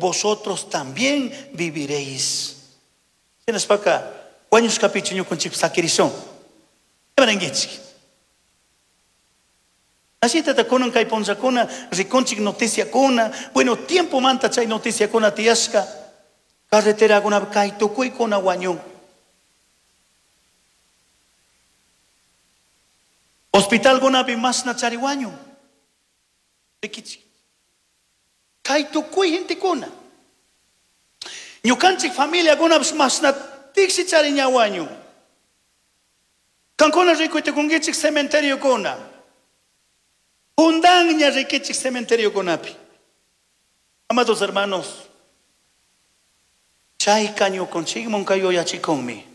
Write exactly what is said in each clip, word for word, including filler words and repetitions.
vosotros también viviréis. Shinashpaka wañushkapichu ñukunchik sakirishun. Imaninkichik? Ashitata kunan kay punllakuna rikunchik noticiakuna, bueno, tiempomanta chay noticiakuna tiyashka, carreterakuna kay tukuykuna wañun. Hospitalkunapi masna chari wañun. Rikichik. Kay tukuy gentekuna. Ñukanchik familiakunapish masna tiksi chari ña wañun. Kankuna rikuytukunkichik cementeriokuna. Hundanña rikichik cementeriokunapi. Amados hermanos, chayka ñukanchikman kay yuyachikunmi.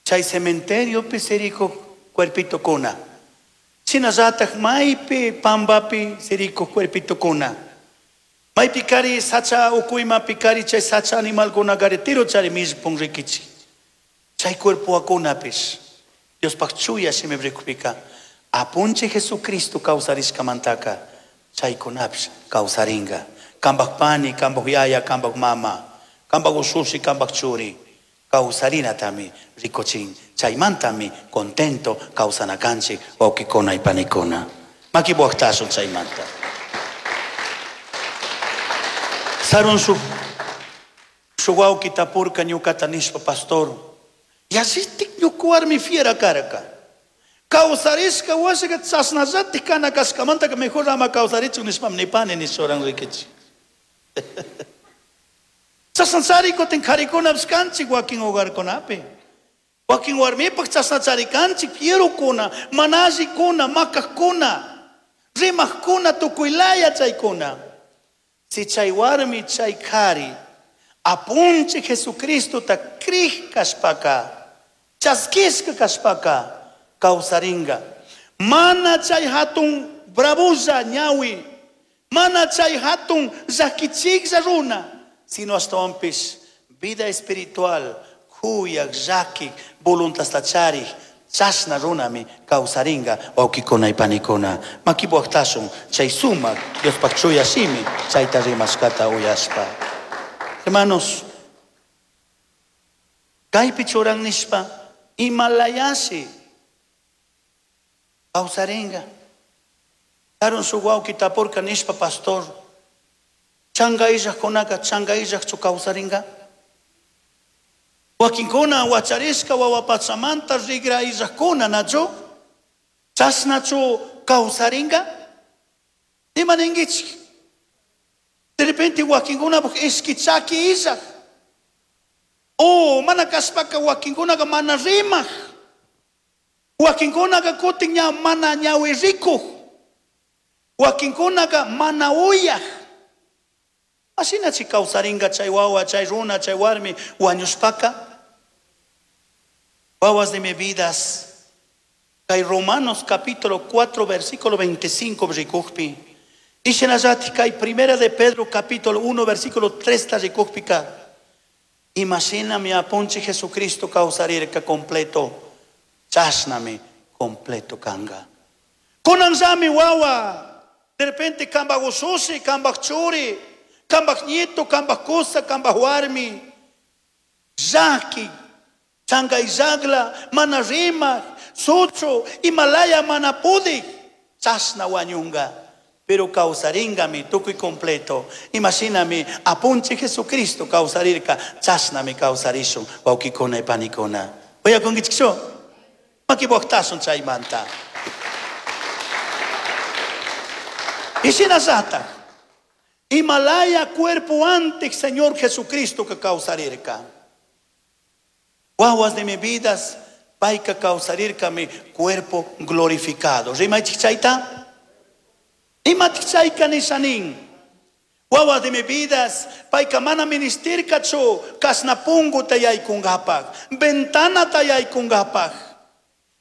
Chay cementeriopi sirikuq cuerpitokuna. Shinallatak maypi pambapi sirikuq cuerpitokuna. Maypi kari sacha ukuymapi kari chay sacha animalkuna kari tiro chari millpun rikichik. Chay cuerpoakunapish Diospaq chuya shimi rikupika apunchik Jesucristo kawsarishkamantaka chaykunapish kawsaringa. Kambaq pani, kambaq yaya, kambaq mama, kambaq ushushi, kambaq churi kawsarinatami rikuchin. Chaymantami contento kawsanakanchik wawqikuna y panikuna. Makipuwaqtashun chaymanta. Sarun shuk shuk wawqi tapurka ñukata nishpa pastor, yallitik ñuka warmi fiera karka. Kawsarishka wasika chashnallatik kana kashkamantaka mejor ama kawsarichun nishpam nipani nishuran rikichik. Chashnachari kutin karikunapish kanchik wakin hogarkunapi. Wakin warmipaq chashnachari kanchik fierokuna, mana allikuna, makaqkuna, rimaqkuna, tukuylaya chaykuna. Si chay warmi chay kari apunchik Jesucristota krij kashpaka, chaskishka kashpaka kawsaringa. Mana chay hatun bravulla ñawi, mana chay hatun llakichiklla runa, sino ashtawanpish vida espiritual, kuyak, llakik, voluntasta charik, chashna runami kawsaringa wawqikuna y panikuna. Makipuwaqtashun chay sumak Diospaq chuya shimi chayta rimashkata uyashpa. Hermanos, kaypi churan nishpa imalayashi kawsaringa. Sarun shuk wawqi tapurka nishpa pastor, chanka illajkunaka chanka illajchu kawsaringa? Wakinkuna wacharishka wawapachamanta rigra illajkuna nachu? Chashnachu kawsaringa? Ima ninkichik? De repente wakinkunapaq ishki chaki illaj. Oh, mana kashpaka wakinkunaka mana rimaq. Wakinkunaka kutin ña mana ñawi rikuq. Wakinkunaka mana uyaq. Ashinachi kawsaringa chay wawa, chay runa, chay warmi wañushpaka. Wawas de mi vidas. Kay Romanos capítulo cuatro versículo veinticinco rikukpi. Y shinallati kay primera de Pedro capítulo uno versículo tres ta rikukpika. Imagíname apunchi Jesucristo kawsarirka completo. Chashnami completo kanga. Kunanllami wawa. De repente kambaq ushushi, kambaq churi, kambaq nieto, kambaq kusa, kambaq warmi. Llaki, chankay llaqla, mana rimaq, suchu, Himalaya mana pudik, chashna wañunga. Pero kawsaringami tukuy completo. Imagíname, apunchi Jesucristo kawsarirka, chashnami kawsarishun, wawqikuna y panikuna. Uyakunkichikchu? Makipuwaqtashun chaymanta. Y shinallata, Himalaya cuerpo antes Señor Jesucristo que kawsarirka. Wawas de mi vidas, payka kawsarirka mi cuerpo glorificado. Rimaychik chayta? Imatik chayka nishanin? Wawas de mi vidas, payka mana ministirkachu kasna pungu tayaykungapak, ventana tayaykungapak.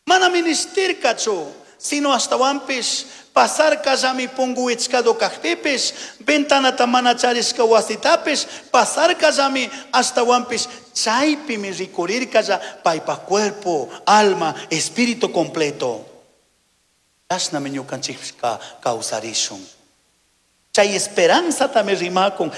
Mana ministirkachu, sino hasta wampis pasar kallami pungu wichkado kajpipis, ventanata mana charishka wasitapis, pasar kallami hasta wampis, chaypimi rikurirkalla paypa cuerpo, alma, espíritu completo. Chashnami ñukanchikka kawsarishun. Chay esperanza tami rimakun.